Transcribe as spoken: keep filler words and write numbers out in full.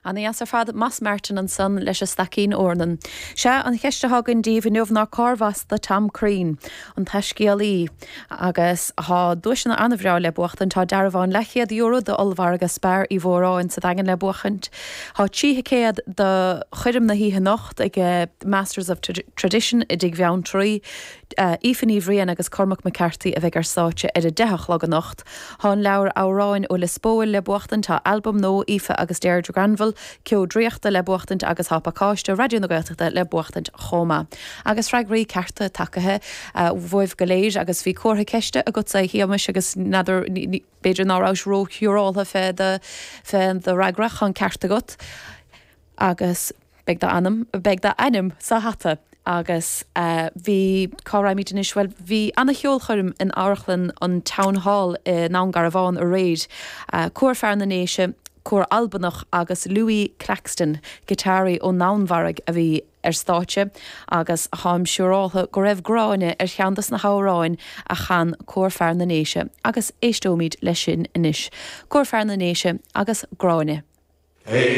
Ana-dheas ar fad Moss Martin ansan leis an Staicín Eornan. Sea an cheist atá againn daoibh inniu ná cárbh as do Tom Crean, an taiscéalaí agus tá duaiseanna an-bhreá le buachtaint tá dearbhán leathchéad euro d'ollmhargadh Spar Uí Mhóráin sa Daingean le buachaint. Tá trí thicéad do choirm na hoíche anocht ag Masters of Tradition i dTigh Bheanntraí. Aoife Ní Bhriain agus Cormac McCarthy a bheidh ar stáitse ar a deich a chlog anocht. Tá an leabhar amhráin ó Lios Póil le buachtaint tá albam nua Aoife agus Deirdre Granville, Ceo Draíochta le buachtaint agus tá pacáiste Raidió na Gaeltachta le buachtaint chomh maith. Agus freagraí cearta tagtha uaibh go léir agus bhí comhartha ceiste agatsa a Shéamais agus n'fheadar b'fhéidir ná rabhais róshiúráltha fé do fé do fhreagra tá an ceart agat agus beidh d'ainm beidh d'ainm sa hata. agus uh, bhí cá raibh anois well bhí an-cheolchoirm in amharclann an Town Hall i nDún Garbhán aréir. Uh, Cór Fear na nDéise, cór Albanach agus Louis Claxton, giotáraí ón Danmhairg a bhí ar stáitse agus táim siúráltha go raibh Gráinne ar cheann des na hamhráin a chan Cór Fear na nDéise agus éisteoimid leis sin anois. Cór Fear na nDéise agus Gráinne. Hey.